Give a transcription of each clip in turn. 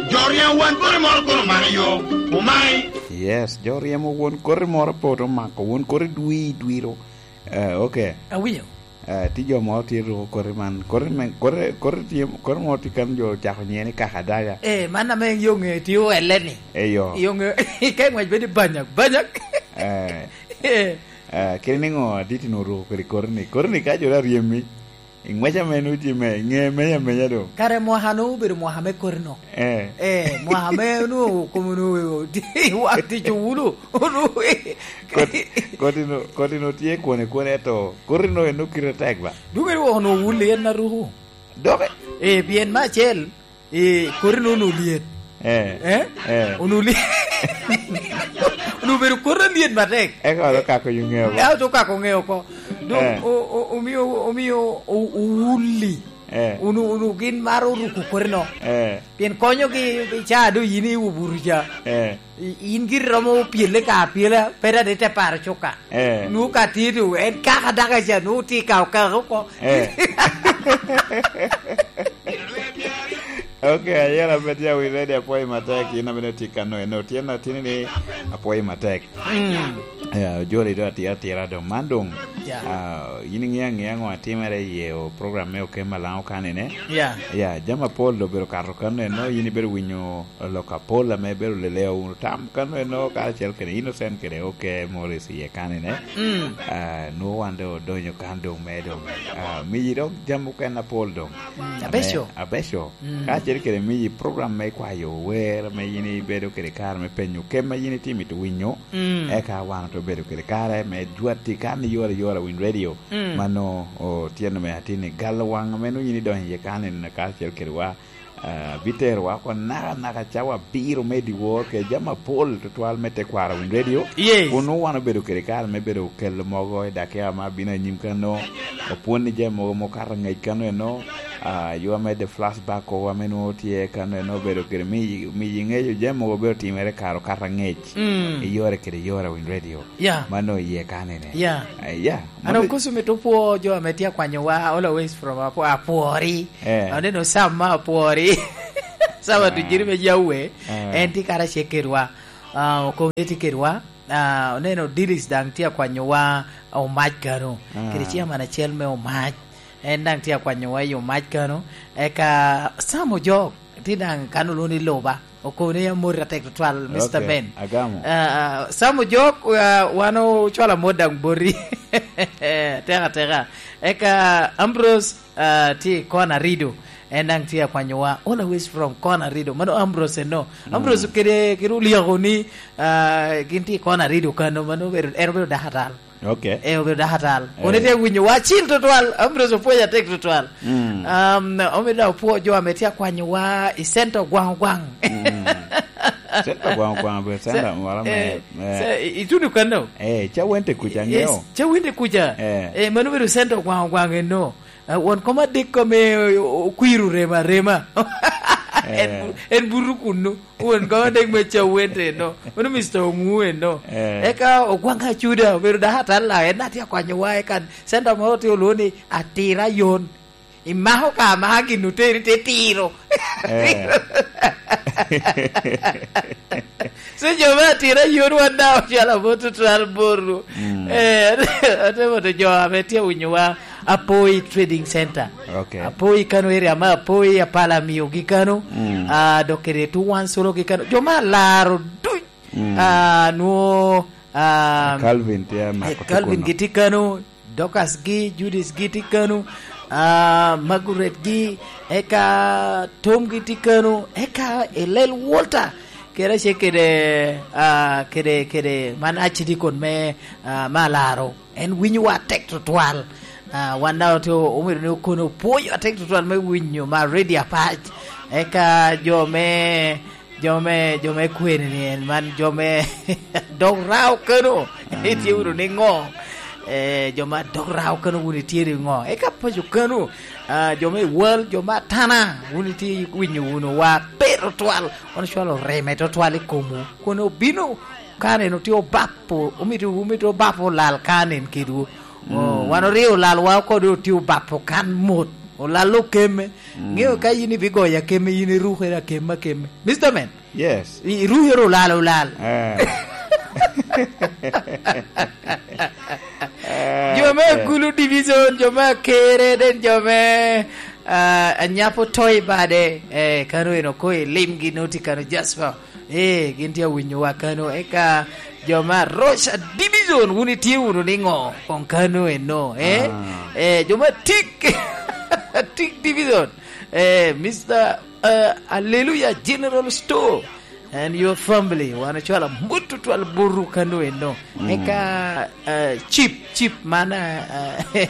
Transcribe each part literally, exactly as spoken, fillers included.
Jo ryemo won koti moro kono omako yo, omai. Yes, jo ryemo won koti moro poto omako, won koti dwi, dwiro. Eh, ok. Awinyo. Eh, ti jo moro tye ruko koti man, koti me, koti, koti tye, koti moro tye kan jo ocako nyiŋe ni kakadaga. Eh, man ame yo ŋe tye oelle ni. Eyo. Yo ŋe, ka i ŋwec bedo banyak, banyak. Eh. Eh. Eh, kadi niŋo adit ni oruko kodi koti ni? Koti ni ka jo dok ryemi, i ŋwec ame nwoŋo tye me, ŋe menya menya doŋ. Kare mwaka nwoŋo obedo mwaka me koti no. Eh. Eh, mwaka me nwoŋo kom nwoŋo wak tic owulo. Koti, koti no, koti no tye kwone kwone, eto koti no en nwoŋo kite tek ba? Dwogere wok nwoŋo owulo en aruko. Doke? Eh, pien me acel, eh, koti no nwoŋo lyet. Eh. Eh? Eh. Onwoŋo lyet. Onwoŋo obedo koti alyet matek. Eka dok okako yo ŋeo oko. Eka dok okako ŋeo oko. Dok, eh, o-, o-, omio, omio o-, owuli. Eh. Unu, unu gin maro ruko koti no. Eh. Pien konyogi i caa doŋ yin i obuto ca. Eh. I-, in giri romo pyelle ka apyela, pe dade te paro cuka. Eh. Nu ka tye to, en kaka daka ca, nu tye ka okaka oko. Eh. Ok, ayela pe tye awinyo ready, apwoyo matek, in amene tye kano, eno, tye na tini ni apwoyo matek. Mm. Ya, ojoli do atira atira do. Man dong, ya, ah, yin iŋeo aŋea ŋo atimere i ye o program me Okem Malaŋo kanene? Ya. Ya, jami apol do obedo kato kano eno, yin ibedo winyo lok apol ame ibedo leleo wunu tam kano eno, karacel kede Innocent kede Oke Morris i ye kanene. Mm. Ah, nwoŋo wan do odonyo kan dong me dong. Ah, miyi dok jami okene apol dong. Mm, ame abeco. Abeco. Mm. Kacel kede miyi program me kwayo wer, ame yin ibedo kede kare me penyo kema yin itye mito winyo, mm, eka wan ote bedo kede kare me jwati kan i yore yore Win Radio. Mm. Mano otyeno me atin i galo waŋ ame nwoŋo yin idonyo iye kan en kacel kede wa, ah, biterowa oko naka naka cawa abiro me dyewor kede jami apol tutwal me tekwaro Win Radio. Yes. Kun nwoŋo wan obedo kede kare me bedo kelo mogo i dakika ma bino anyim kano, opwon ni jami mogo ma okato angec kano eno, ah, yo ame the flashback o ame nwoŋo tye kano eno obedo kede mi, mi iŋeyo jami mogo obedo timere kare okato angec. Mm. I yore kede yore Win Radio. Yeah. Mano iye kanene. Yeah. Ah, yeah. An mano okoso mito pwo jo ame tye akwanyowa, always from Apo-, Apwori. Eh. Aneno Sam ma Apwori. Sam, ah, Atujiri me Jawe. Ah. En tye karacel kedwa. Ah, Okoŋe tye kedwa. Ah, oneno Dilis daŋ tye akwanyowa Omac kano. Ah. Kede chairman acel me Omac. En daŋ tye akwanyowa i Omac kano. Eka Sam Ojok tye daŋ kano lwongo ni Loba. Okobo ni amoti atek tutwal, Mister, ok, Ben. Agamo. Ah, ah, Sam Ojok, ah, wan ocwalo amot daŋ boti. Teka teka. Eka Ambrose, ah, tye i kona Rido. En daŋ tye akwanyowa. Always from kona Rido. Mano Ambrose eno. Mm. Ambrose kede, kede olyako ni, ah, gin tye i kona Rido kano. Mano obedo, en obedo dako atal. Ok. Eh, obedo dako atal. Eh. Kono itye winyo wa acil tutwal. Ambrose opwoyo atek tutwal. Mm. Um, omido daŋ opwo jo ame tye akwanyo wa i center Ogwaŋ Ogwaŋ. Mm. Center Ogwaŋ Ogwaŋ obedo center moro me, eh, me ce-, i-, ituno kano? Eh, Cawente kuca, eh, aŋeo. Cawente kuca. Eh. Eh, mano obedo center Ogwaŋ Ogwaŋ eno. Ah, won kom adek ame o-, okwiro rema arema. En, eh, bu-, en buto kunnu. Won kom adek me Cawente eno. Mano Mister Oŋu eno. Eh. Eka Ogwaŋ Acuda obedo dako atalla, en atye akwanyowa, eka center moro tye olwoŋo ni Atira Yon. Imako ka amaka gin oteri te tiro. Eh. So, jo me Atira Yon wan daŋ ocwalo amot tutwal botwu. Mm. Eh, ate moto jo ame tye awinyowa Apoi Trading Center. Ok. Apoi kano area ma Apoi apala miogi kano. Mm. Ah, dok kede Tuwan Solo gi kano. Jo ma alaro duc. Mm. Ah, nwo, ah, Calvin tye amako, eh, Calvin tukuno. Gitye kano. Dorcas gi, Judith gi tye kano, ah, Margaret gi, eka Tom gi tye kano, eka Elel Walter, kede ace kede, ah, kede, kede man Archdeacon me, ah, me Alaro. En winyowa atek tutwal. Ah, wan daŋ ote-, omito ni okono pwonyo atek tutwal me winyo ma Radio Apac. Eka jo me Jo me, jo me kwene ni en man, jo me dog rao kano, mm, itye wunu ni ŋo? Eh, jo ma dog rao kano wun itye ni ŋo? Eka paco kano, ah, jo me wal, jo ma tana, wun itye winyo wunu wa pe tutwal, wan ocwalo reme tutwal i komwu. Kun obino, ka neno tye obapo, omito, omito obapo lal ka nen kedwu. Oh, mm, wan oryo lalwa oko dong otye obapo kan mot. Olalo keme. Mm. Ŋeo ka yin ibigoyo akeme, yin irukere akeme, akeme. Mister Man. Yes. I-, irukere olal, olal. Eh. Eh, jo me eh. Gulu Division, jo me Akere, den jo me, ah, Anyapo Toy bade. Eh, kano eno ko i limgi noti kano Jasper. Eh, gin tye awinyowa kano. Eka jo ma Rocha Division, wun itye wunu niŋo? Kong kano eno, eh? Ah. Eh, jo ma Tik, Tik Division. Eh, Mister, eh, Hallelujah General Store and your family. Wan ocwalo mut tutwal buru kano eno. Mm. Eka, eh, Chip, Chip man, eh,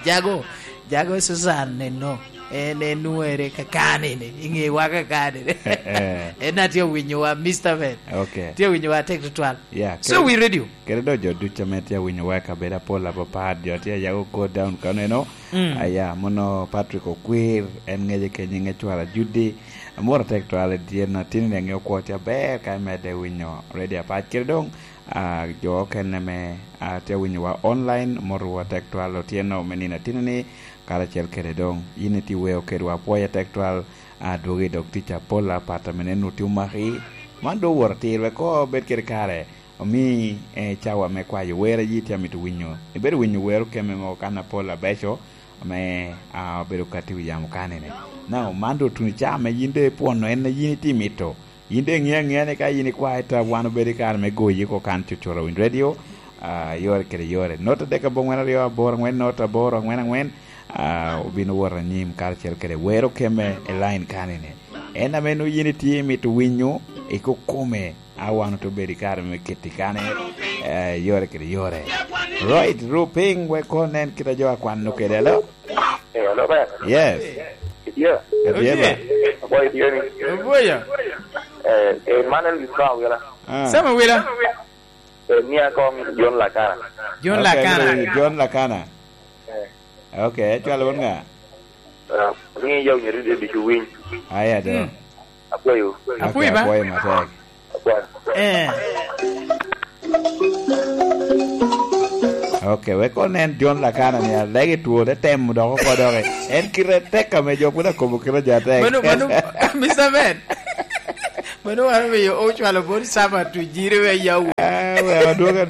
Jago, Jago Susan eno. En, en nwere kakani ni, i ŋewa kakani ni. Eh, eh. En a tye owinyowa, Mister Man. Okay. Tye owinyowa tek tutwal. Yeah, so kere-, we ready. Kede dok jo ducu ame tye awinyo wa i kabedo apol apapat, jo tye a yago go down kano eno. Mm. Aya, mono Patrick Okwir, en ŋece kenyo ŋec cwara Judy. Amoro tek twal i tyen atino ni aŋeo kwo tye aber ka imedde winyo radio apac. Kede doŋ, ah, jo okene me, ah, tye awinyo wa online, moro wa tek twal otyeno me nino atino ni, karacel kede doŋ. Yin itye weo kedwa, apwoya tek twal, ah, dwogi dok tic apol apat ame nenu tye omaki. Man doŋ oworo atir, wek koŋ obed kede kare. Omi, eh, cawa me kwayo wer a yi tye amito winyo. Ibedo winyo wer okeme mogo kan apol abeco, ame, ah, obedo kati wi yamo kanene. Now, man doŋ otuno ca ame yin doŋ ipwono en a yin itye mito. Yin doŋ iŋeo aŋea ni ka yin ikwae ta wan obedo i kare me goyi oko kan cucura winy radio, ah, yore kede yore. Not adek abongwen aryo aboro angwen, not aboro angwen angwen, ah, obino wot anyim karacel kede wer okeme i line kanene. En ame nwoŋo yin itye mito winyo, ikokome. A wan ote obedo i kare me keti kane, eh, yore kede yore. Right, ru piny wek koŋ nen kit a jo akwano kede, alo? Eh, alo, ber. Yes. Itye? Atye ba. Aboyo itye ni. Aboyo. Eh, eh, man en Sam Awila. Ah. Sam Awila. Eh, mia kong John Lakana. John Lakana. Okay, John Lakana. Eh. Okay, ecwalo won ŋa? Ah, ni yo nyeri de bicu winy. Aya do. Mm. Akwayo. Okay, apwoyo ba? Apwoyo matek. Akwayo. Eh. Okay, wek onen John Lakana ni alege two, te temo dok oko dok. En kite tek ame jo pwod akobo kite jo atek. Mano, mano, Mister Man. Mano wan omiyo ocwalo bot Sam Atujiri me yawu. Ah, we, adwogo, adwogo.